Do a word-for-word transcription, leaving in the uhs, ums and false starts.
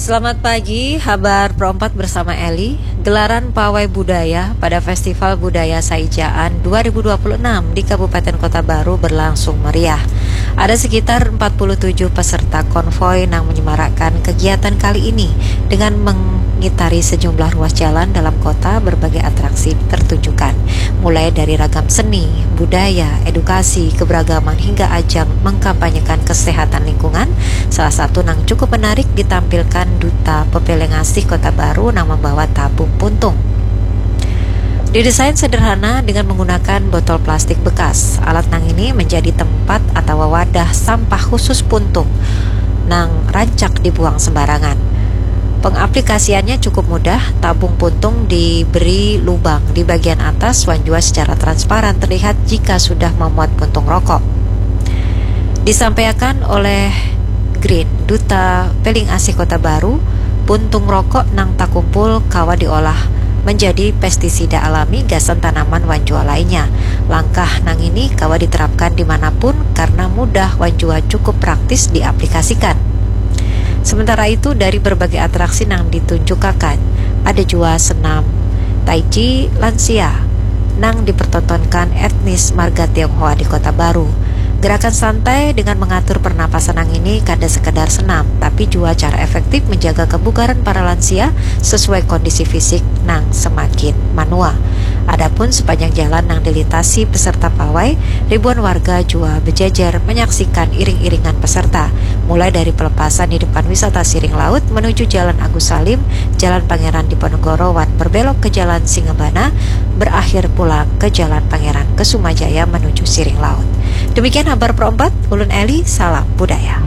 Selamat pagi, Habar Pro empat bersama Eli. Gelaran Pawai Budaya pada Festival Budaya Saijaan dua ribu dua puluh enam di Kabupaten Kota Baru berlangsung meriah. Ada sekitar empat puluh tujuh peserta konvoi nang menyemarakkan kegiatan kali ini dengan mengitari sejumlah ruas jalan dalam kota. Berbagai atraksi tertunjukkan, mulai dari ragam seni, budaya, edukasi, keberagaman hingga ajang mengkampanyekan kesehatan lingkungan. Salah satu nang cukup menarik ditampilkan Duta Pepelengasih Kota Baru nang membawa tabung puntung. Didesain sederhana dengan menggunakan botol plastik bekas. Alat nang ini menjadi tempat atau wadah sampah khusus puntung nang rancak dibuang sembarangan. Pengaplikasiannya cukup mudah, tabung puntung diberi lubang di bagian atas wan jua secara transparan terlihat jika sudah memuat puntung rokok. Disampaikan oleh Green, Duta Peling Asih Kota Baru, puntung rokok nang takumpul kawa diolah menjadi pestisida alami gasan tanaman wan jua lainnya. Langkah nang ini kawa diterapkan di mana pun karena mudah wan jua cukup praktis diaplikasikan. Sementara itu, dari berbagai atraksi nang ditunjukakan, ada jua senam tai chi lansia nang dipertontonkan etnis marga Tionghoa di Kota Baru. Gerakan santai dengan mengatur pernapasan nang ini kada sekadar senam, tapi jua cara efektif menjaga kebugaran para lansia sesuai kondisi fisik nang semakin manua. Adapun sepanjang jalan nang dilintasi peserta pawai, ribuan warga jua bejajar menyaksikan iring-iringan peserta, mulai dari pelepasan di depan wisata Siring Laut menuju Jalan Agus Salim, Jalan Pangeran Diponegoro wan berbelok ke Jalan Singabana, berakhir pulang ke Jalan Pangeran Kesuma Jaya menuju Siring Laut. Demikian Habar Pro empat, ulun Eli, salam budaya.